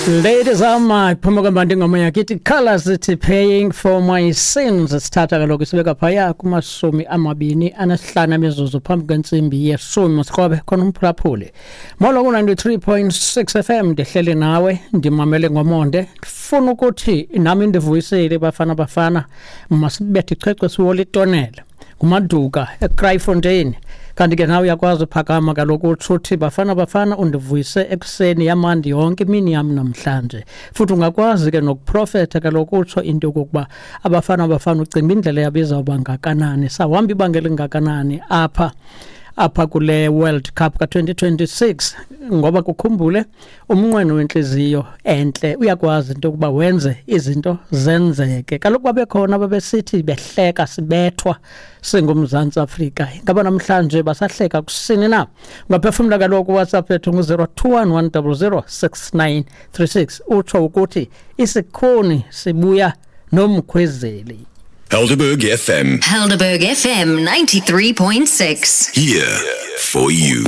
Ladies am phuma kwembandi ingoma yakithi Colors ithi Paying for My Sins. Sithatha kaloku sibeka phaya kumashumi amabini anesihlanu emizuzu phambi kwentsimbi yeshumi. Msikrobe khona umphulaphuli. Molo ku-93.6 FM, ndihleli nawe, ndimamele ngomonde. Ndifuna ukuthi nami ndivuyisile. Bafana Bafana, masibethe ichwechwe siwole itonela. Ngumaduka eKraaifontein. Kanti ke nawe uyakwazi uphakama kaloku utsho uthi Bafana Bafana undivuyise ekuseni, yamandi yonke imini yam namhlanje. Futhi ungakwazi ke nokuprofetha kaloku utsho into yokokuba abafana bafana ucinga indlela yabo izawuba ngakanani, sawuhamba ibanga elingakanani apha kule World Cup ka-2026, ngoba kukhumbule umnqweno wentliziyo entle uyakwazi into yokuba wenze izinto zenzeke. Kaloku babekhona babesithi behleka sibethwa singuMzantsi Afrika. Ingaba namhlanje basahleka kusini na? Ungaphefumla kaloku, WhatsApp yethu ngu-021 100 6936, utsho ukuthi isikhuni sibuya nomkhwezeli. Helderberg FM. Helderberg FM 93.6. Here for you.